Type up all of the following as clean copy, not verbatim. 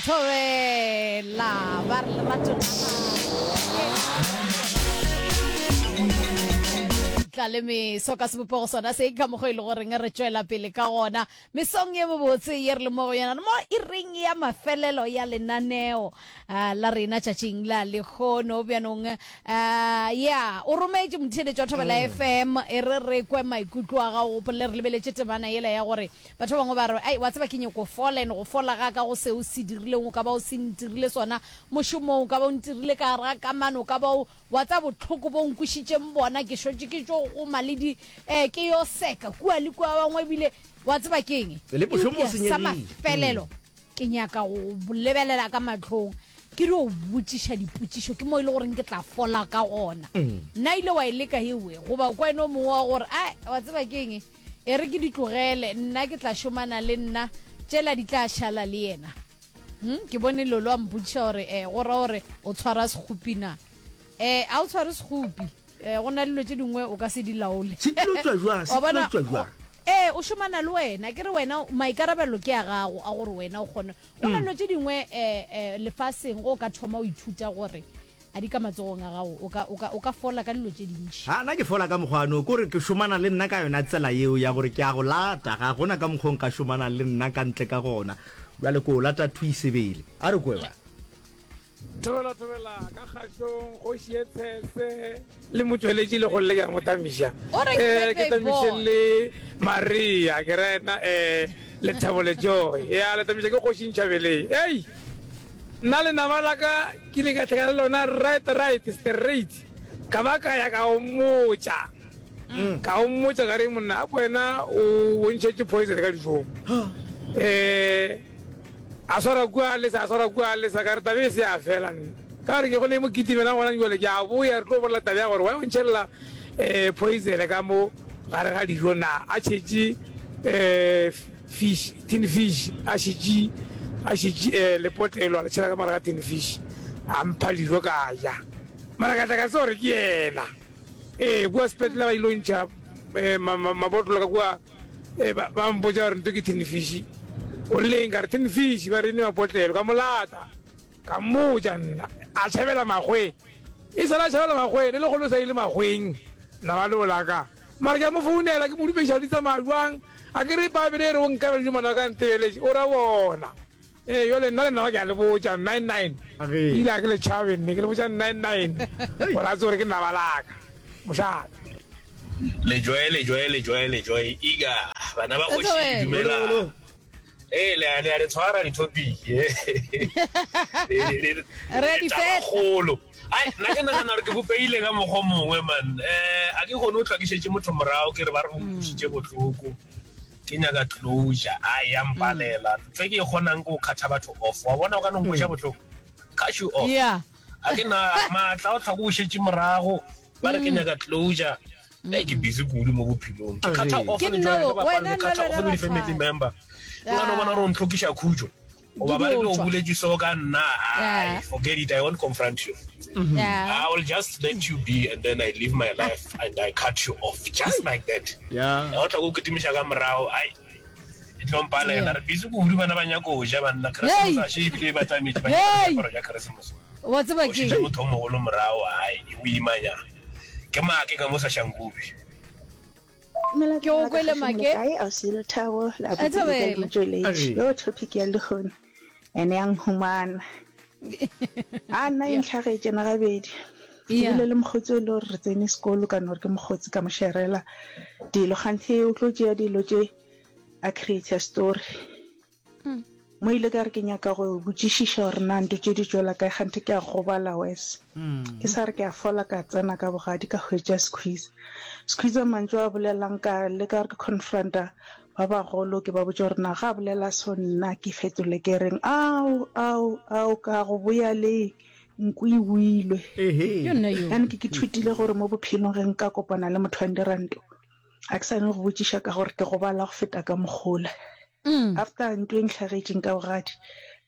Thobela ba re lerato la tla le meso ka sebopego sona se ka mokgwa e le goreng re tšwela pele ka gona mesong ye mobotse ye re le mo go yona mo e reng ya mafelelo ya lenaneo uh, la rena tšatšing la lekgono bjanong uh, ya o rometše motheeletši wa thobela mm. fm e re re kwe maikutlo a gago gopolele re lebeletše temana yela ya gore Batho ba bangwe ba re, Ai, wa tseba ke nyoko fola, and go fola ga ka go seo o se dirileng, o ka ba o se ntirile sona mošomong, o ka ba o ntirile ka gare ga kamano, o ka ba o, wa tseba bohloko bo o nkwišitšeng bona, ke šetše ke tšo goma le di, eh, ke yo seka kua le kua, ba bangwe ebile, wa tseba ke eng? Le mošomo o Eupša sa senyegile. mafelelo, ke nyaka go go lebelela ka mahlong, ke dio botšiša dipotšišo, ke mo e le goreng ke tla fola ka gona. Na ile wa e leka ewe? Goba o kwa ene o mongwe wa gore, Ai, wa tseba ke eng? E re ke di tlogele, nna ke tla šomana le nna, tšela di tla šala le yena. Hm, ke bone Lolo a mpotšiša gore, eh, go ra gore o tshwara sekgopi na? Eh, a o tshware sekgopi. Eh, go na le dilo tše dingwe o ka se di laole. Se tlo tšwa jwang? Se Wa tlo bona, tšwa jwang? ee, o šomana le wena. Ke re wena, maikarabelo ke a gago a gore wena o kgone. Go na le dilo tše dingwe, eh, eh, lefaseng, ge o ka thoma o ithuta gore A di ka matsogong a gago, o ka, o ka, o ka fola ka dilo tše dintši. Ha, nna ke fola ka mokgwa no, kore ke šomana le nna ka yona tsela yeo ya gore ke a go lata, ga gona ka mokgwa o nka šomanang le nna ka ntle ka gona. Bjale ke o lata thwi sebele. A re kwe ba. Thobela thobela ka kgašong kgoši ye tshese le motšweletši le golle ke a mo tamiša O re eh ke ke tamiše boy. le Maria ke ra ena eh Lethabo le Joy ya le tamiša ke kgoši Ntšhabeleng ei Nna lenaba la ka ke ile ka hlakana le lona right right straight ka ba ka ya ka o mmotša ka o mmotša ka re monna a wena o bontšhetše poison ka dijong um a swara kua a lesa a swara kua a lesa ka re tabe e se ya fela nna ka gore ke go ne mo kitimelang gona jale ke a boya re tlo bolela tabe ya gore wa o ntšhelela um poison ka mo gare ga dijo na a tšhetše um Fish, tin fish, a šetše, a šetše eh, lepotlelo, a le tšhela ka mare ga tin fish, a mpha dijo ka ja. Mara ka tla ka tseba gore ke yena. Ee, kua sepetlele ba ile ntšha eh, ma, ma, mabotlolo ka kua, eh, ba, ba mpotša gore nto ke tin fish. O rile eng? Ka re tin fish, ba re ne mapotlelo, ka mo lata. Ka mmotša nna, a tšhabela makgweng. E sale a tšhabela makgweng, le lekgolo o sa ile makgweng, laba leo la ka. Mara ke a mo founela, ke mo dumeša di tsamaya bjang. A ke re Bible e re o nkabela dijo ngwana wa ka a ntebeletše, o ra bona. Ee, bjale nna le nna ke a le botša, nine nine. Ebile ga ke le tšhabe nne, ke le botša nine nine, gore a tsebe gore ke naba la ka. Mošate. Lejoe, lejoe, lejoe, lejoe, iga, bana ba kgoši, dumelang. Ee, le a le a le tshwara di-topic Re di fetla. kgolo ai nna ke nagana gore ke bopeile ka mokgwa o mongwe man um a ke kgone o tlwakišetše motho morago ke re ba re go nkušitše bohloko ke nyaka closure ai ya mpalela ntho e ke e kgonang ke go kgatha batho off wa bona o ka no nkweša bohloko cut you off Yeah. a ke na maatla o tlhako o šetše morago ba re ke nyaka closure Ee, ke busy kudu mo bophelong ke kgatha off Ke le nna joy o, le bapala wena ke nna kgatha le off le wena di-family ra member nka no bona gore o ntlhokiša khutšo goba ba re ke o tšwa. boletše so ka nna ai Yeah. forget it i won't confront you Yeah. i will just let you be and then i live my life and i cut you off just like that Yeah. o tla go kitimiša ka morago ai e tlo mpalela Yeah. re busy kudu bana ba nyako go ja banna Christmas Hey. a še ebile ba tlametše ba nyaka Hey. diaparo tša Christmas Wa tseba o ke šetše motho o mogolo morago ai e boimanyana Ke make ka mo sa Shankubi. Dumela Ke o tsona ka kwele kgašo mo le make. kae ausi Lethabo le A abuti le ka le thabela. motšweletši yo topic ya lehono ene ya nhumana a nna e Yeah. ntlhagetše na gabedi ke Yeah. bile le mokgotsi o e le gore re tsene sekolo ka no re ke mokgotsi ka mo sherela dilo kganthe o tlo tšea dilo tše a create story Mo ile ka re ke nyaka go botšišiša gore na nto tše di tšwela kae kganthe ke a gobala wes. Ke sa re ke a fola ka tsena ka bogadi ka hwetša Squeeze. Squeeze mantšu a bolelang ka leka gore ke confronta ba bagolo ke ba botše gore na ga a bolela so nna ke fetole ke reng ao ao ao ka go boya le nku e boilwe. Bjale ke ke thutile gore mo bophelong ge nka kopana le motho wa ndiranto ga ke sa ne go botšiša ka gore ke gobala go feta ka mokgola. After ntwa e ntlhagetšeng ka bogadi,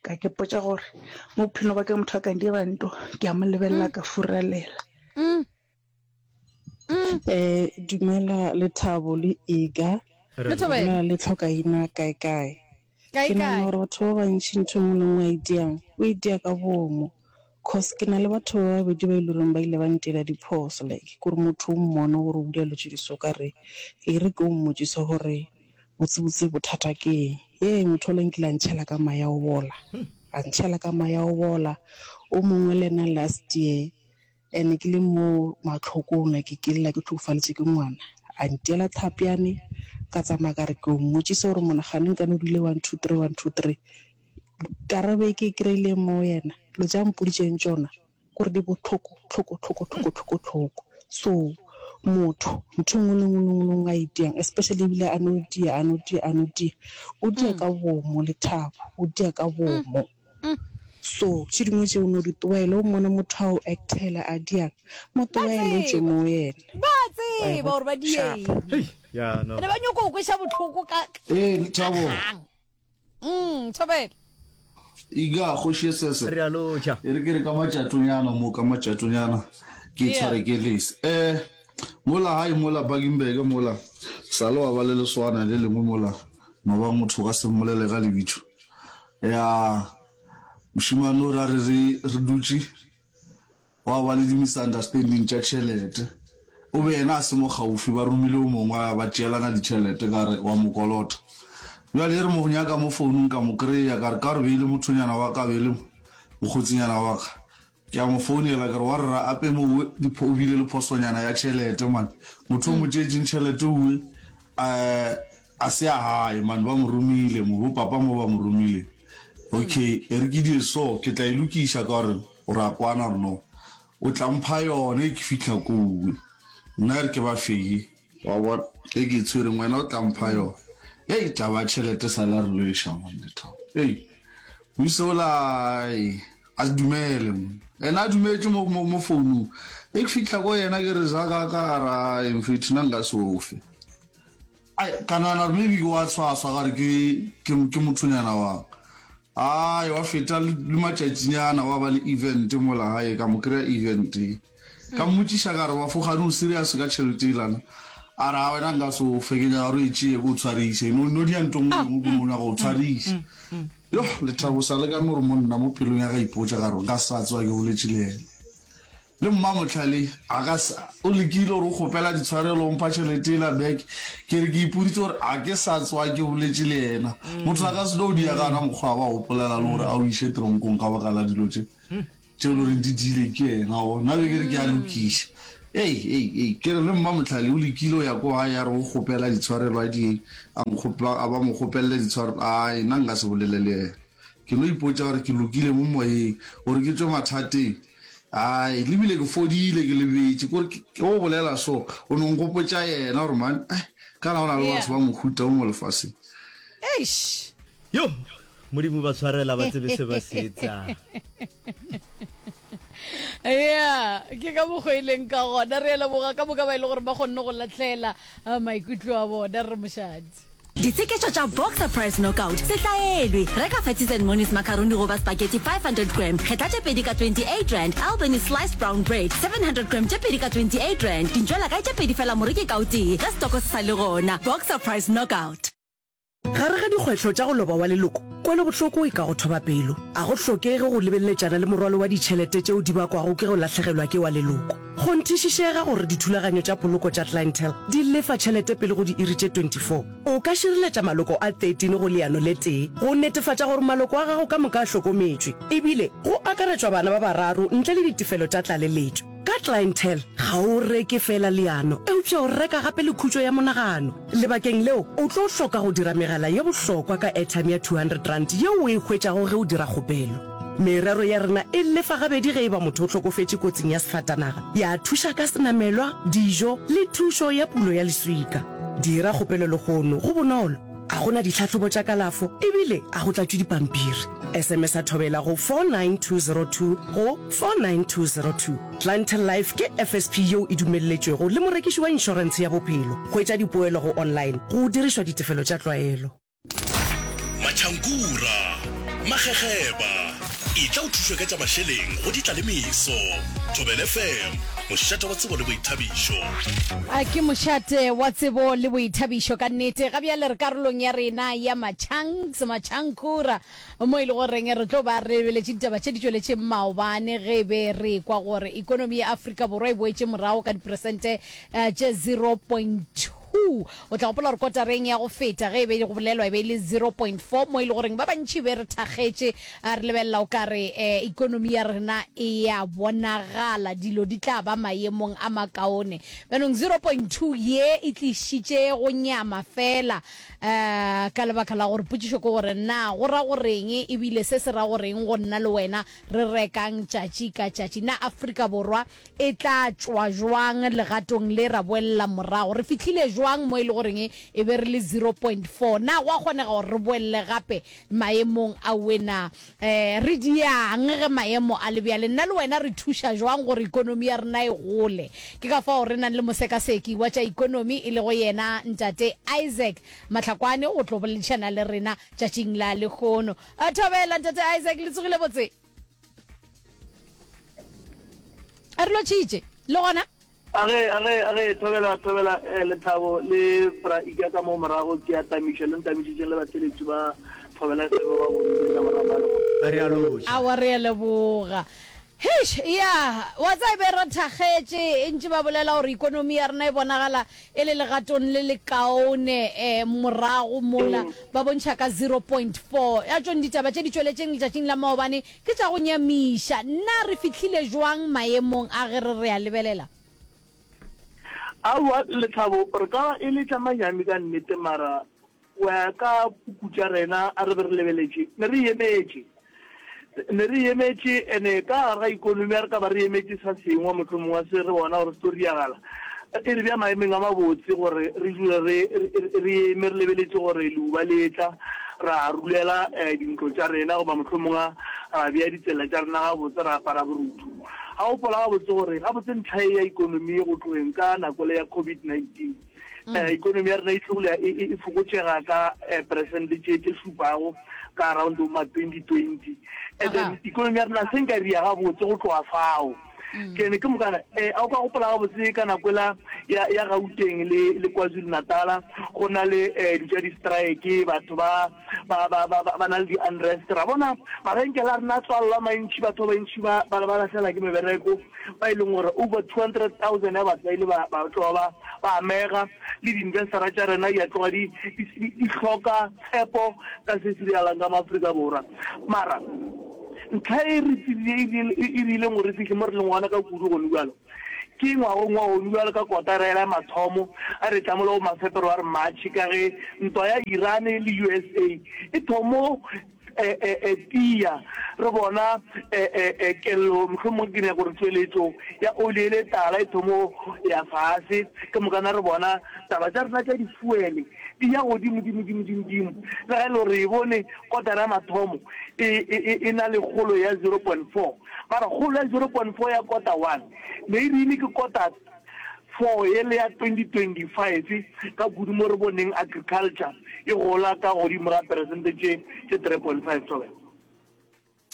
ka ke potša gore mo bophelong ba ka motho a ka ndira nto, ke a mo lebelela ka furalela. Eh, dumela Lethabo le Iga. Le thobela. Dumela le Tlhokaina kae kae. Kae Ke nagana kae? gore batho ba bantši ntho e nngwe le nngwe a e diang, o e dia ka boomo. Cause ke na le batho ba babedi ba e le goreng ba ile ba ntira diphoso like kore motho o mmone gore o dira dilo tše di so ka re e re ke o mmotšiše gore botsebotse bothata ke eng. Yee motho ola nkile a ntšhela ka mae a go bola, a ntšhela ka mae a go bola. O mongwe le yena last year And ke le mo mahlokong like ke lla ke hlokofalitše ke ngwana, a ntiela tlhapjane, ka tsamaya ka re ke yo mmotšisa gore monagane nkane o dule one two three one two three. Karabo e ke e kry-ileng mo go yena, dilo tše a mpoditšeng tšona kore di bohloko hloko hloko hloko hloko hloko. So motho ntho e nngwe le nngwe le nngwe le nngwe a e diang especially ebile a no dia a no dia a no dia, o dia ka bomo Lethabo, o dia ka bomo. So tše dingwe tše o no di tloela, o mmona motho a o actela a diang, mo Ba tloele o tšwe tseba. mo yena. Ba Wa e tseba bona? gore ba Sharp. dieng. Hei, ya no. Ene ba nyoko o kweša bohloko ka Ee, ka Lethabo. kgang. Mm, thobela. Iga, kgoši e sese. Re a lotšha. E re ke re ka matšatonyana mo, ka matšatonyana ke Yeah. tshware ke lese. Eh, mola gae mola Bakenberg mola, sa le wa ba le leswana le lengwe mola, no ba motho o ka se mmolele ka lebitso. Ya, mošemane o ra re re re dutše, gwa ba le di-misunderstanding tša tšhelete. O be yena a se mo kgaufi, ba romile o mongwe a ba tšeelana ditšhelete ka re wa mo kolota. Bjale e re mo nyaka mo founung ka mo kry-a, ka re ka gore be e le mothonyana wa ka, be e le mokgotsinyana wa ka. Ke a mo founela ke re wa rra ape mo owe o bile le phosonyana ya tšhelete man. Motho o mo tšeetšeng tšhelete owe um a se ya gae man ba mo romile mo bo papa mo ba mo romile. Okay e re ke die so ke tla e lokiša ka gore o ra kwana gore no o tla mpha yone ke fihla kowe. Nna e re ke ba feye. Wa bona, e ke e tshwereng, wena o tla mpha yona. Hei, taba ya tšhelete sa la re lweša, man, Lethabo. Hei, moisa ola, ai, a se dumele, man. Ena a dumetše mo, mo, mo founung. E ke fihla ko yena ke re, za ka, ka ra, ai, mfethu, nna nka se o fe. Ai, ka nagana gore maybe ke wa tshwaswa, ka re ke, ke, ke mothonyana wa ka. Ai, wa feta le, le matšatšinyana, wa ba le event mola gae, ka mo kry-a event-eng. Ka mmotšiša ka re, Bafo, kgane o serious ka tšhelete yelana? A re, A wena nka se o fe, ke nyaka gore o e tšee ke o tshwariše. No, no dia nto nngwe le nngwe, ke no nyaka go o tshwariša. Yoh, lethabo sa le ka no re mo nna mo pelong ya ka ipotša ka re, nka se sa tsoga ke boletše le yena. Le Mmamohlale a ka se, o lekile gore o kgopela ditshwarelo, o mpha tšhelete yela back. Ke re ke ipoditše gore a ke sa tsoga ke boletše le yena. Motho a ka se tlo dia ka ona mokgwa wa ba gopolela le gore a o iše teronkong ka baka la dilo tše. Tše e le goreng di diile ke yena o nna be ke re ke a lokiša. Ei, ei, ei, ke re le Mmamohlale o lekile o ya ko gae a re o kgopela ditshwarelo a di a nkgopa a ba mo kgopelele ditshwarelo ai nna nka se bolele le yena. Ke no ipotša gore ke lokile mo moyeng gore ke tšwe mathateng. Ai, le bile ke fodile ke lebetše kore ke go bolela so o no nkgopotša yena gore man ai kana go na le batho ba mohuta o mo lefaseng. Eish. Yo! Modimo ba tshwarela ba tsebe se ba se etsang. Ya, ke ka mokgwa e leng ka gona. Re a leboga ka moka ba e le gore ba kgonne go lahlela eh, maikutlo a bona re mošadi. Ditsheketšo tša Boxer Price Knockout se hlaelwe. Reka Fatties and Monies macaroni goba spaghetti 500 gram, kgetla tše pedi ka R28, Albany sliced brown bread 700 gram tše pedi ka R28, dintšwela kae tše pedi fela moreki ka o tee ge setoko se sa le gona. Boxer Price Knockout. Gare ga dikgwetlho tša go loba wa leloko, kwelobohloko e ka go thoba pelo. A go hlokege go lebeleletšana le morwalo wa ditšhelete tšeo di bakwago ke go lahlegelwa ke wa leloko. Kgonthišišega gore dithulaganyo tša poloko tša Clientele di lefa tšhelete pele go diiri tše 24. O ka šireletša maloko a 13 go leano le tee go netefatša gore maloko a gago ka moka a hlokometšwe, ebile go akaretšwa bana ba bararo ntle le ditefelo tša tlaleletšo. Ka Clientele, ga o reke feela leano, eupša o reka gape le khutšo ya monagano. Lebakeng leo, o tlo hloka go dira megala ye bohlokwa ka airtime ya R200 yeo o e hwetšago ge o dira kgopelo. Merero ya rena e lefa gabedi ge e ba motho o hlokofetše kotsing ya sefatanaga, ya thuša ka senamelwa, dijo le thušo ya pulo ya leswika. Dira kgopelo lehono, go bonolo, ga go na ditlhahlobo tša kalafo ebile ga go tlatšwe dipampiri. SMS-a Thobela go 49202 go 49202. Clientele Life ke FSP yeo e dumelletšwego le morekiši wa inšorentshe ya bophelo. Hwetša dipoelo go online go dirišwa ditefelo tša tlwaelo. Matšhankura, Magegeba. Etla o thušwe ka tša mašeleng go Ditlalemeso. Thobela FM, mošate wa tsebo le boithabišo. A ke mošate wa tsebo le boithabišo ka nnete. Ga bjale re karolong ya rena ya Machanks, Machankura, mo e le goreng re tlo ba re lebeletše ditaba tše di tšweletšeng maobane ge e be re ekwa gore ikonomi ya Afrika Borwa e boetše morago ka diperesente tše 0.2. O tla gopola gore kotareng ya go feta ge e be go bolelwa e be e le 0.4 mo e le goreng ba bantši be re thakgetše re lebelela o ka re ikonomi ya rena e ya bonagala dilo di tla ba maemong a makaone. Bjanong 0.2 ye e tlišitše go nyama fela ka lebaka la gore potšišo ke gore na go ra goreng ebile se se ra goreng go nna le wena re rekang tšatši ka tšatši. Na Afrika Borwa E tla tšwa jwang legatong le ra boelela morago? Re fihlile jwang mo e le goreng e be re le 0.4? Na go a kgonega gore re boelele gape maemong awe na? Eh, re diang ge maemo a le bjale? Nna le wena re thuša jwang gore ikonomi ya rena e gole? Ke ka fao re nang le mosekaseki wa tša ikonomi e lego yena Ntate Isaac Mahlakwane go tlo boledišana le rena tšatšing la lehono. Thobela Ntate Isaac, le tsogile botse? A re lotšhitše le gona? A ge, a ge, a ge, thobela, thobela, eh, Lethabo le Bra Ika ka mo morago, ke a tamiša, le ntamišitšeng le batheeletši ba Thobela FM ba bontši ka morago ga lehono. Re a lotšha. Aowa, re a leboga. Heish, ya, wa tseba e be re thakgetše, e ntše ba bolela gore ikonomi ya rena e bonagala e le legatong le lekaone eh, morago mola ba bontšha ka 0.4 ya tšone ditaba tše di tšweletšeng letšatšing la maobane ke tša go nyamiša. Na re fihlile jwang maemong a ge re re a lebelela? Aowa, Lethabo, re ka ba e le tša manyami ka nnete mara Go ya ka puku tša rena a re be re lebeletše, ne re emetše, ne re emetše, ene ka gare ga ikonomi a re ka ba re emetše sa sengwe mohlomongwe se re bona gore se tlo riagala, e re bea maemeng a mabotse gore re dule re, re eme re lebeletše gore leuba le etla, ra rulela dintlo tša rena goba mohlomongwe ra bea ditsela tša rena gabotse, ra apara borutho. Ga o gopola gabotse gore gabotse ntlha ye ya ikonomi go tlogeng ka nako le ya COVID-19, Ikonomi ya rena e tlogile e fokotšega ka peresente tše tše šupago ka around bo ma 2020, and then ikonomi ya rena se nka ria gabotse go tloga fao. Ke ne ke mokana a o ka gopola gabotse ka nako ela ya ya Gauteng le le KwaZulu-Natala go na le di tša di-strike, batho ba ba ba ba ba na le di-unrest, ra bona mabenkele a rena a tswalelwa mantši, batho ba bantši ba ba ba lahlela ke mebereko, ba e leng gore over 200,000 ya batho ba ile ba ba tloga ba ba amega, le di-investora tša rena di a tloga di di di hloka tshepo ka se se diragalang ka mo Afrika Borwa. Mara ntlha e re tsebile e rileng gore re fihle mo re leng gona ka kudu gone bjalo, Ke ngwagong wa gonu bjalo ka kotara yela ya mathomo a re tla mola go ma-Feberware, March, ka ge ntwa ya Iran le USA e thomo tia, re bona kello, mohlomongwe ke nyaka gore tšweletšo ya oli ele tala e thomo ya fase, ke mokana re bona taba tša rena tša difuele di ya godimo dimo dimo dimo dimo, le ga e le gore re e bone kotara ya mathomo e, e, e, e na le kgolo ya 0.4. Mara kgolo ya 0.4 ya kota one ne e rile ke kota 4 yele ya 2025 ka kudu mo re boneng agriculture e gola ka godimo ga peresente tše tše 3.5 Thobela.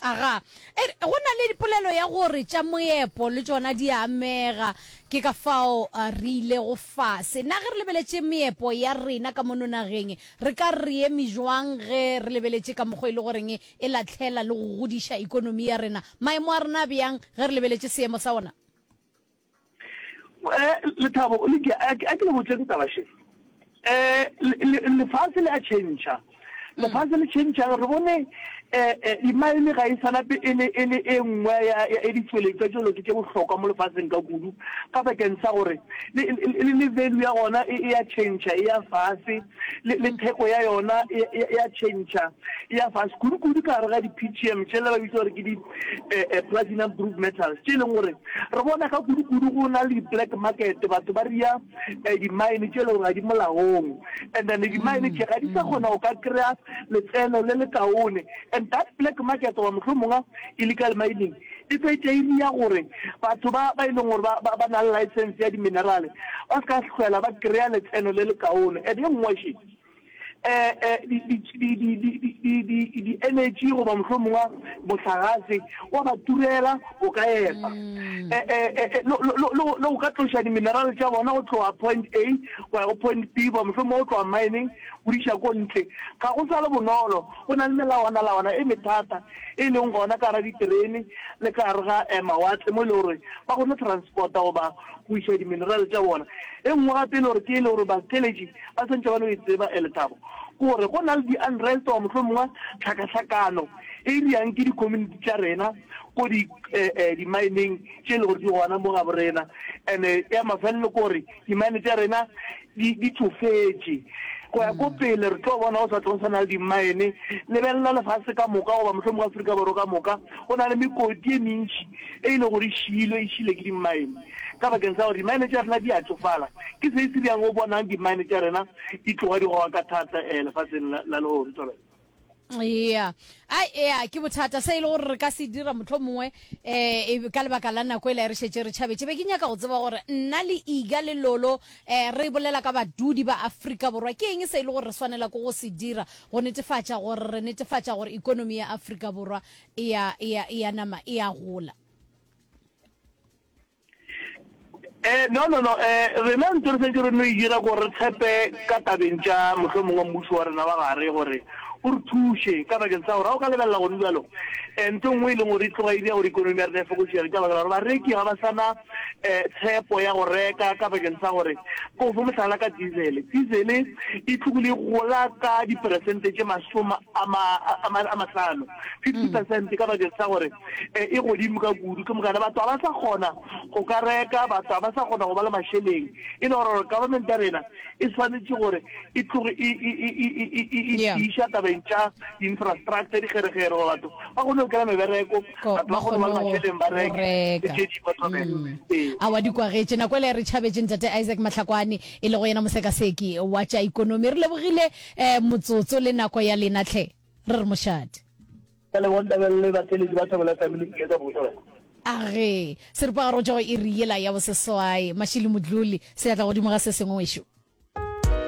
Aga, e re, go na le polelo ya gore tša moepo le tšona di a amega, ke ka fao re ilego fase. Na ge re lebeletše meepo ya rena ka mono nageng, re ka re re eme jwang ge re lebeletše ka mokgwa e le goreng e lahlela le go godiša ikonomi ya rena. Maemo a rena a bjang ge re lebeletše seemo sa ona? Lethabo, Lydia, a ke le botšeng taba še. Lefase le a tšhentšha. Lefase le tšhentšha, re bone dimaene ga e sa nape e le e le e nngwe ya ya ditšweletšwa tše lo ke tše bohlokwa mo lefaseng ka kudu, ka bakeng sa gore le le le value ya gona e ya tšhentšha, e ya fase. le, le theko ya yona e, e, e a tšhentšha, e ya fase kudu-kudu ka gare ga di-PGM tšela ba bitsa gore ke di eh, eh, platinum group metals, tše e leng gore re bona ka kudu-kudu go na le di-black market, batho ba ria eh, di-mine tše e leng gore ga di molaong, and then di-mine tše ga di sa kgona go ka kry-a letseno le lekaone, and that black market goba mohlomongwe illegal mining E fetša e ria gore batho ba ba e leng gore ba, ba, ba na le license ya di-minerale ba se ka hlwela ba kry-a letseno le lekaone. And ye nngwe še, Di-energy goba mohlomongwe mohlagase wa ba turela o ka epa le go ka tloša di-mineral tša bona go tloga point A go ya go point B goba mohlomongwe go tloga mining go di iša ko ntle. Ga go sa le bonolo, go na le melawanalawana e methata e leng gona ka gara diterene le ka gare ga mawatle mo e le gore ba kgone go transporta goba go iša di-mineral tša bona. E nngwe gape e le gore ke e le gore batheeletši ba swantše ba no e tseba, Lethabo, ke gore go na le di-unrest goba mohlomongwe tlhakahlakano e dirang ke di-community tša rena ko di, di-mineng tše e le gore di gona mo gabo rena. And-e ya mafelelo ke gore di-mine tša rena di, di tšofetše. Go ya ko pele re tlo bona go sa tlo sa na le di-mine. Lebelela lefase ka moka goba mohlomongwe Afrika Borwa ka moka, go na le mekoti e mentši e e le gore e šiilwe, e šile ke di-mine. Ka bakeng sa gore di-mine tša rena di a tšofala. Ke se se bjang o bonang di-mine tša rena di tloga di goga ka thata lefaseng la, la lehono. Thobela. Ea, ai, ea, ke bothata se e le gore re ka se dira mohlomongwe um ka lebaka la nako e la re šetše re tšhabetše. Be ke nyaka go tseba gore nna le Iga le Lolo um re bolela ka badudi ba Afrika Borwa, ke eng se e le gore re swanela ke go se dira go netefatša gore re netefatša gore ikonomi ya Afrika Borwa e ya, e ya, e ya nama e a gola? Eh, no, no, no, eh, rena ntho re santse re no e dira gore re tshepe ka tabeng tša mohlomongwe mmušo wa rena wa gare gore o re thuše ka bakeng sa gore ga o ka lebelela gone bjalo um ntho e nngwe e leng gore e tloga e dira gore ikonomi ya rena e fokošege ka baka la gore bareki ga ba sana um tshepo ya go reka ka bakeng sa gore ko fo mohlala ka diesel diesel e tlogile e gola ka diperesente tše masome a mahlano 50 percent ka bakeng sa gore e godimo ka kudu ke mokana batho ga ba sa kgona go ka reka batho ga ba sa kgona go ba le mašeleng e le gore government ya rena e swanetše gore e tloge e iša tabeng tša di-infrastructure dikgerekgere gore batho ba kgone go kry-a mebereko batho ba kgone go ba le mašeleng ba reke le tše dingwe thobela ee a wa di kwagetše nako ele re tšhabetše ntate Isaac Mahlakwane e lego yena mosekaseki wa tša ikonomi re lebogile um motsotso le nako ya lena tlhe re re mošate Ke a leboga Ntabelele le batheeletši ba Thobela FM le Iketla Bošole. A ge, seripagare go tšwa go iri yela ya boseswai. Mashilo Modluli, seatla godimo ga se sengwe wešo.